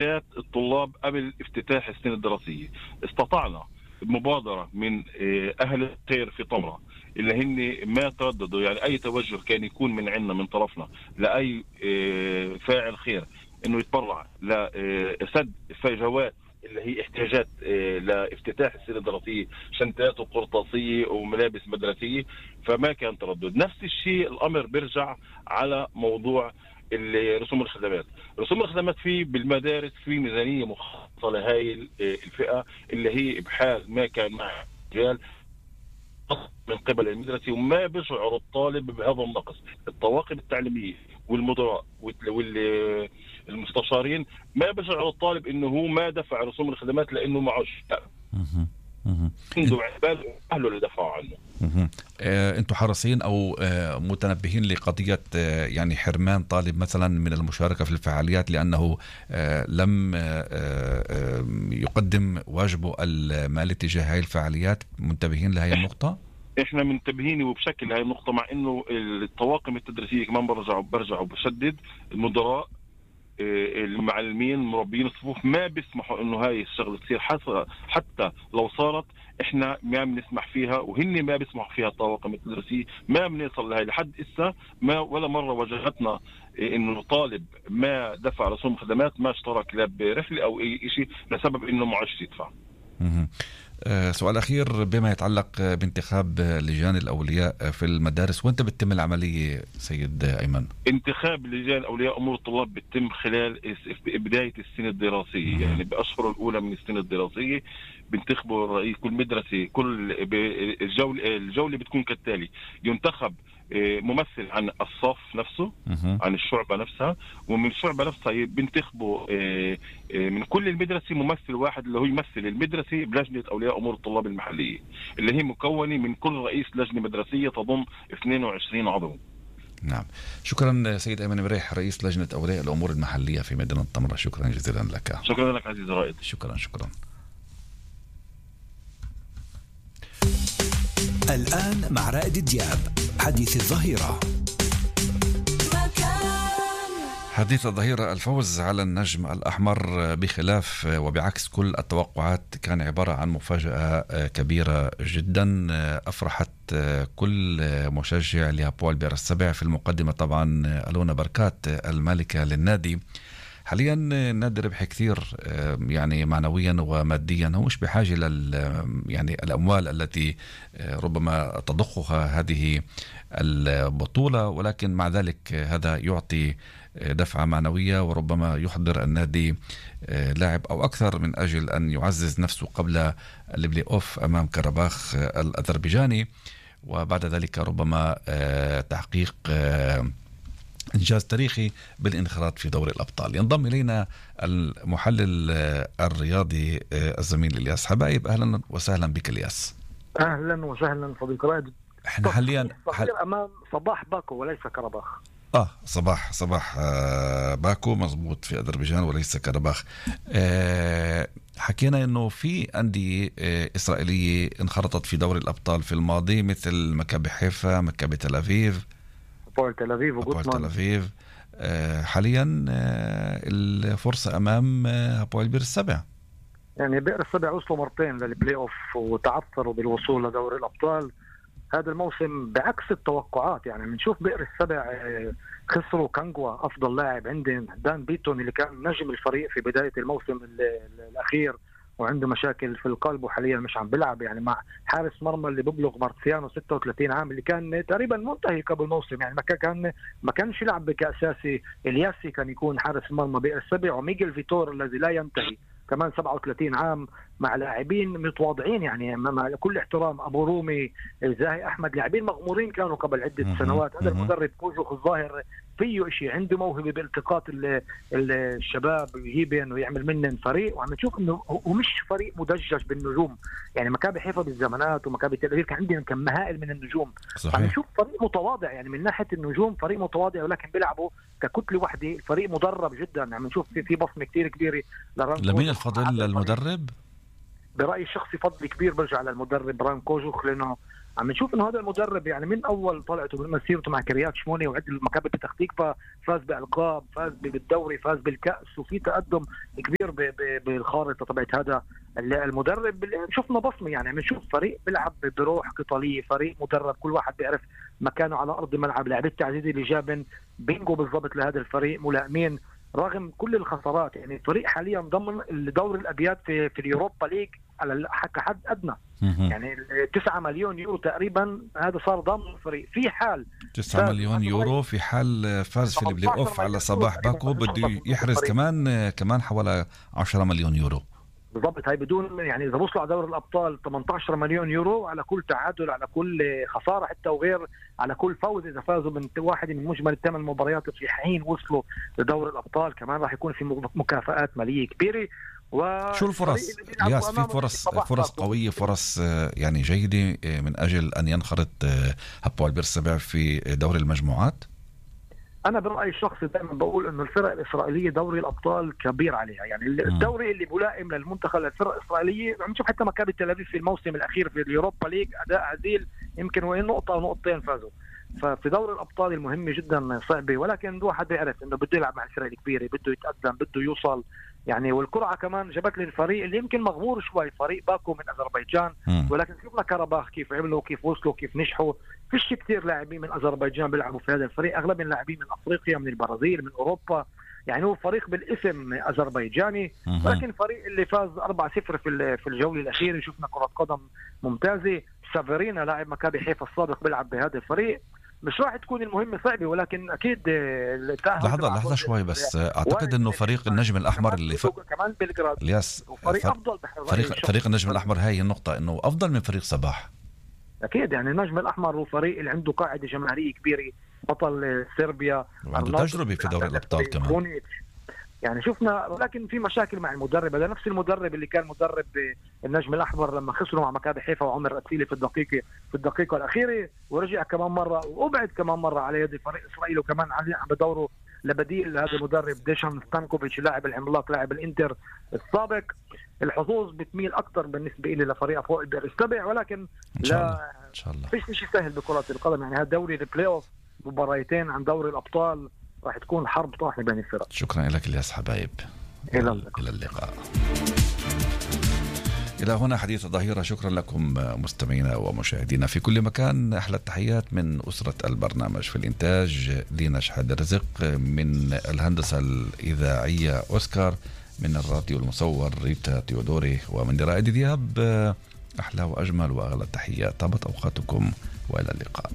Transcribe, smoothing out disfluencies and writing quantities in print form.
الطلاب قبل افتتاح السنة الدراسية. استطعنا بمبادرة من أهل الخير في طمرة اللي هن ما ترددوا، يعني أي توجه كان يكون من عنا من طرفنا لأي فاعل خير إنه يتبرع لسد فجوات اللي هي احتياجات لافتتاح السنة الدراسية، شنطات وقرطاسية وملابس مدرسية، فما كان تردد. نفس الشيء الأمر بيرجع على موضوع رسوم الخدمات. رسوم الخدمات في بالمدارس في ميزانية مخصصة لهاي الفئة اللي هي بحال ما كان مع رجال من قبل المدرسة، وما بيشعر الطالب بهذا النقص. الطواقم التعليمية والمدراء والمستشارين ما بيشعر الطالب انه هو ما دفع رسوم الخدمات لانه معوش، عنده عبال اهله اللي دفعوا عنه. انتم حريصين او متنبهين لقضية يعني حرمان طالب مثلا من المشاركة في الفعاليات لأنه لم يقدم واجبه المالي تجاه هاي الفعاليات؟ منتبهين لهي النقطة؟ احنا منتبهين وبشكل هاي النقطة، مع انه الطواقم التدريسية كمان برجعوا بشدد المدراء المعلمين مربين الصفوف ما بيسمحوا انه هاي الشغله تصير، حتى لو صارت احنا ما بنسمح فيها وهن ما بيسمحوا فيها. الطواقم التدريسيه ما بنوصل لهي لحد اسا، ما ولا مره واجهتنا انه طالب ما دفع رسوم خدمات، ما اشترك لا برحله او اي شيء لسبب انه معوش يدفع. سؤال أخير بما يتعلق بانتخاب لجان الأولياء في المدارس، وانت بتتم العملية سيد أيمن؟ انتخاب لجان أولياء أمور الطلاب بتم خلال بداية السنة الدراسية، يعني بأشهر الأولى من السنة الدراسية بنتخبوا رئيس كل مدرسة. كل الجولة بتكون كالتالي: ينتخب ممثل عن الصف نفسه، عن الشعبة نفسها، ومن الشعبة نفسها بنتخبوا من كل المدرسة ممثل واحد اللي هو يمثل المدرسة بلجنة أولياء أمور الطلاب المحلية، اللي هي مكونة من كل رئيس لجنة مدرسية تضم 22 عضو. نعم، شكرا سيد أيمن مريح رئيس لجنة أولياء الأمور المحلية في مدينة طمرة، شكرا جزيلا لك. شكرا لك عزيز رائد. شكرا. الآن مع رائد دياب حديث الظهيرة. حديث الظهيرة: الفوز على النجم الأحمر بخلاف وبعكس كل التوقعات كان عبارة عن مفاجأة كبيرة جدا أفرحت كل مشجع لهابوال بئر السبع. في المقدمة طبعا ألونا بركات المالكة للنادي. حاليا النادي ربح كثير يعني معنويا وماديا، هو مش بحاجة يعني الأموال التي ربما تضخها هذه البطولة، ولكن مع ذلك هذا يعطي دفعة معنوية وربما يحضر النادي لاعب أو أكثر من أجل أن يعزز نفسه قبل البلاي أوف أمام كرباخ الأذربيجاني، وبعد ذلك ربما تحقيق إنجاز تاريخي بالانخراط في دوري الأبطال. ينضم إلينا المحلل الرياضي الزميل إلياس حبايب. أهلا وسهلا بك إلياس. أهلا وسهلا صديق رائد. احنا حاليا أمام صباح باكو وليس كرباخ. صباح باكو مضبوط في أذربيجان وليس كرباخ. حكينا انه في أندية إسرائيلية انخرطت في دوري الأبطال في الماضي مثل مكابي حيفا، مكابي تل أبيب، هابوال تل أبيب حاليا الفرصة أمام هابوال بئر السبع. يعني بئر السبع وصلوا مرتين للبلاي أوف وتعثروا بالوصول لدوري الأبطال هذا الموسم بعكس التوقعات. يعني بنشوف بئر السبع خسروا كانغوا أفضل لاعب عندهم، دان بيتون اللي كان نجم الفريق في بداية الموسم الأخير وعنده مشاكل في القلب وحاليا مش عم بيلعب، يعني مع حارس مرمى اللي ببلغ مارسيانو 36 عام اللي كان تقريبا منتهي قبل الموسم، يعني ما كانش يلعب كأساسي. الياسي كان يكون حارس مرمى بئر السبع، وميغيل فيتور الذي لا ينتهي كمان 37 عام، مع لاعبين متواضعين يعني مع كل احترام، ابو رومي، زاهي احمد، لاعبين مغمورين كانوا قبل عده سنوات. هذا المدرب كوجوخ الظاهر فيه شيء، عنده موهبه بالتقاط الشباب ويجيبهم ويعمل منهم فريق، وعم نشوف انه هو مش فريق مدجج بالنجوم. يعني مكابي حيفا بالزمانات ومكابي تل أبيب كان عندهم كم هائل من النجوم، عم نشوف فريق متواضع يعني من ناحيه النجوم، فريق متواضع ولكن بيلعبوا ككتله واحده، الفريق مدرب جدا. عم نشوف في بصمه كتير كبيره لمين الفضل للمدرب؟ برأيي الشخصي فضل كبير برجع للمدرب ران كوجوخ، لأنه عم نشوف انه هذا المدرب يعني من اول طلعته من مسيرته مع كريات شموني وعد المكابي بتخ تكفى، فاز بالقاب، فاز بالدوري، فاز بالكاس، وفي تقدم كبير بالخارطه تبعت هذا المدرب. اللي شفنا بصمه يعني بنشوف فريق بيلعب بروح قتاليه، فريق مدرب كل واحد بيعرف مكانه على ارض الملعب. لاعبي التعزيزي اللي جابن بينجو بالضبط لهذا الفريق ملائمين رغم كل الخسارات. يعني الفريق حاليا ضمن الدوري الابيات في اليوروبا ليج على كحد ادنى، يعني 9 مليون يورو تقريبا هذا صار ضمن الفريق. في حال 9 مليون يورو في حال فاز في البلاي اوف على صباح باكو بده يحرز كمان حوالي 10 مليون يورو بالضبط. هاي بدون يعني اذا وصلوا على دوري الابطال 18 مليون يورو على كل تعادل، على كل خساره حتى، وغير على كل فوز اذا فازوا من واحد من مجمل الثمان مباريات في حين وصلوا لدوري الابطال. كمان راح يكون في مكافآت ماليه كبيره. شو الفرص الياس؟ في فرص قويه، فرص يعني جيده من اجل ان ينخرط هابوال بيرسبع في دوري المجموعات. انا برايي الشخصي دائما بقول انه الفرق الاسرائيليه دوري الابطال كبير عليها. يعني الدوري اللي ملائم للمنتخب للفرق الاسرائيليه. عم نشوف حتى مكابي تل ابيب في الموسم الاخير في اليوروبا ليج اداء عديل، يمكن وين نقطه او نقطتين فازوا. ففي دوري الابطال المهمه جدا صعبه، ولكن الواحد بيعرف انه بده يلعب مع الفرق الكبيره، بده يتقدم، بده يوصل. يعني والقرعه كمان جابت لي الفريق اللي يمكن مغمور شوي، فريق باكو من اذربيجان، ولكن شفنا كرباخ كيف عملوا، كيف وصلوا، كيف نجحوا. فيش كتير لاعبين من اذربيجان بيلعبوا في هذا الفريق، اغلب اللاعبين من افريقيا، من البرازيل، من اوروبا. يعني هو فريق بالاسم اذربيجاني، ولكن فريق اللي فاز 4-0 في الجوله الاخيره. شفنا كره قدم ممتازه. سافرينا لاعب مكابي حيفا السابق بيلعب بهذا الفريق. مش راح تكون المهمة صعبة، ولكن أكيد لحظة شوي بس. أعتقد أنه فريق النجم الأحمر اللي كمان بلغراد الياس أفضل فريق النجم الأحمر. هاي النقطة أنه أفضل من فريق صباح أكيد. يعني النجم الأحمر هو فريق اللي عنده قاعدة جماهيرية كبيرة، بطل صربيا، وعنده تجربة في دوري الأبطال كمان. يعني شفنا، ولكن في مشاكل مع المدرب. هذا نفس المدرب اللي كان مدرب النجم الأحمر لما خسروا مع مكابي حيفا وعمر أتسيلي في الدقيقة الأخيرة، ورجع كمان مرة وأبعد كمان مرة على يد فريق إسرائيل، وكمان عم بدوره لبديل هذا المدرب ديشان ستانكوفيتش لاعب العملاق لاعب الإنتر السابق. الحظوظ بتميل أكثر بالنسبة إلي لفريق فوق البئر السبع، ولكن لا إن شاء الله فيش شيء سهل بكرة القدم. يعني هذا دوري البلاي أوف، مباريتين عن دوري الأبطال، راح تكون حرب طاحنة بين الفرق. شكرا لك الياس حبايب. إلى اللقاء. إلى هنا حديث الظهيرة. شكرا لكم مستمعينا ومشاهدينا في كل مكان. أحلى التحيات من أسرة البرنامج. في الإنتاج دينا شحاد رزق، من الهندسة الإذاعية أوسكار، من الراديو المصور ريتا تيودوري، ومن رائد دياب. أحلى وأجمل وأغلى التحيات. طابت أوقاتكم وإلى اللقاء.